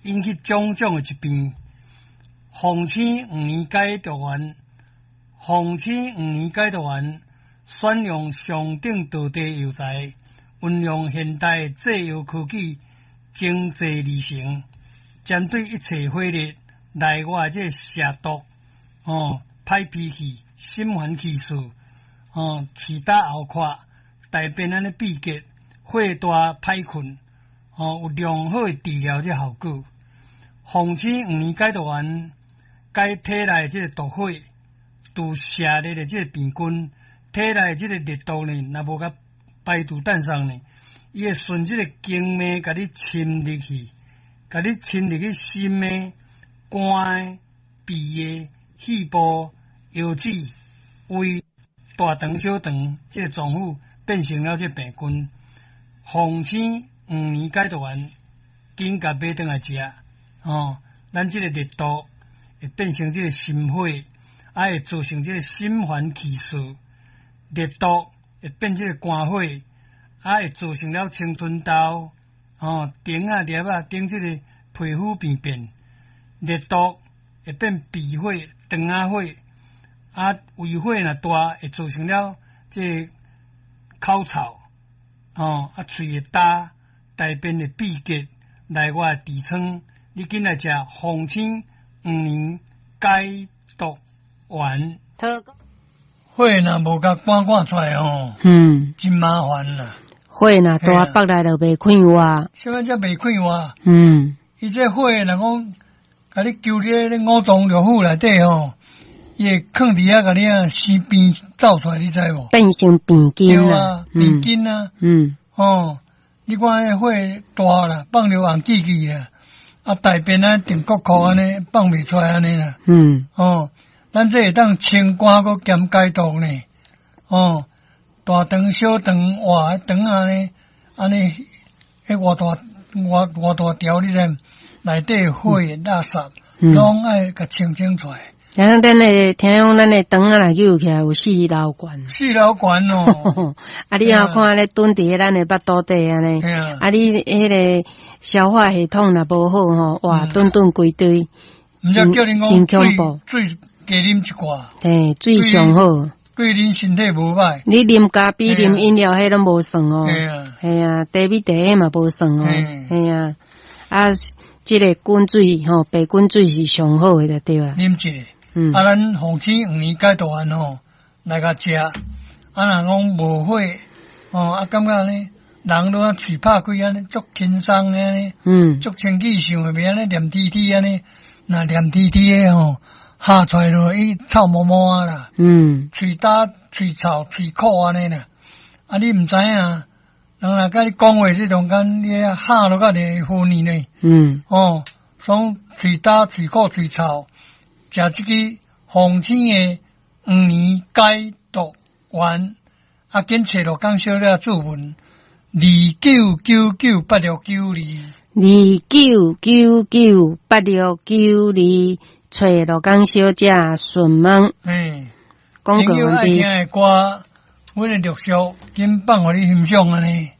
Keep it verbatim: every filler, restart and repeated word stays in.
引起種種的疾病。鳳青黃連解毒丸，鳳青黃連解毒丸選用上等道地藥材，運用現代製藥科技精製而成，針對一切火熱內外這個邪毒，哦，歹脾氣、心煩氣躁，哦，喙焦喉渴、大便按呢秘結、火大歹睏，哦，有良好的治療這效果。鳳青黃連解毒丸解體內這個毒火，除邪熱的這個病菌，體內這個熱毒呢，若無共排除散送呢，伊會順這個經脈共你侵入去，共你侵入去心的、肝的、脾的、肺部、腰子、胃、大腸、小腸這個臟腑，變成了這個病菌。鳳青黃連解毒丸，緊共買轉來食，哦，咱這個熱毒會變成這個心火，啊會造成這個心煩氣躁，熱毒會變這個肝火，啊會造成了青春痘，哦，腸仔粒仔等這個皮膚病變，熱毒會變脾火、腸仔火，啊胃火若大會造成了這個口臭，哦，啊喙會焦，大便會秘結，內外痔瘡，你緊來食鳳青黃連解毒丸。火若無共趕趕出來吼，嗯，真麻煩啦。火若大腹內就袂快活。啥物才袂快活？嗯，伊這火若講，共你揪佇咧五臟六腑內底吼，伊會囥佇遐共你啊生病走出來，你知無？變成病菌對啊，病菌啊。嗯，哦，你看彼火大啦，放著紅記記啦，啊大便啊定國庫按呢放袂出來按呢啦。嗯，哦，咱這會當清肝閣兼解毒呢。哦，大腸、小腸、活腸按呢，按呢，彼偌大偌偌大條，你知？內底火垃圾，攏愛共清清出來。聽講咱的，聽講咱的腸仔內揪起來有四樓懸。四樓懸哦。啊，你若看咧蹲佇咱的腹肚底按呢，啊，你彼個消化系統若無好吼，哇，頓頓規堆，毋是叫恁真恐怖。水加啉一寡。嘿，水上好。對恁身體無歹。你啉咖啡、啉飲料，彼攏無算哦。嘿啊。嘿啊，茶米茶彼嘛無算哦。嘿啊，啊，這個滾水吼，白滾水是上好的對啊。啉一个。嗯。啊，咱鳳青黃連解毒丸吼，來共食。啊，若講無火，哦，啊，感覺呢，人攏啊喙拍開按呢，足輕鬆按呢，嗯，足清氣想會袂按呢黏滴滴按呢，若黏滴滴的吼，哈出來落伊臭毛毛啊啦，嗯，喙焦、喙臭、喙苦按呢啦，啊，你毋知影，人若共你講話這中間，你哈落較會昏去呢，嗯，哦，所以喙焦、喙苦、喙臭，食這个鳳青的黃連解毒丸，啊，緊揣陸江小姐注文，二九九九八六九二，二九九九八六九二，揣陸江小姐詢問。嗯，廣告朋友愛聽的歌，阮的陸續緊放予你欣賞按呢。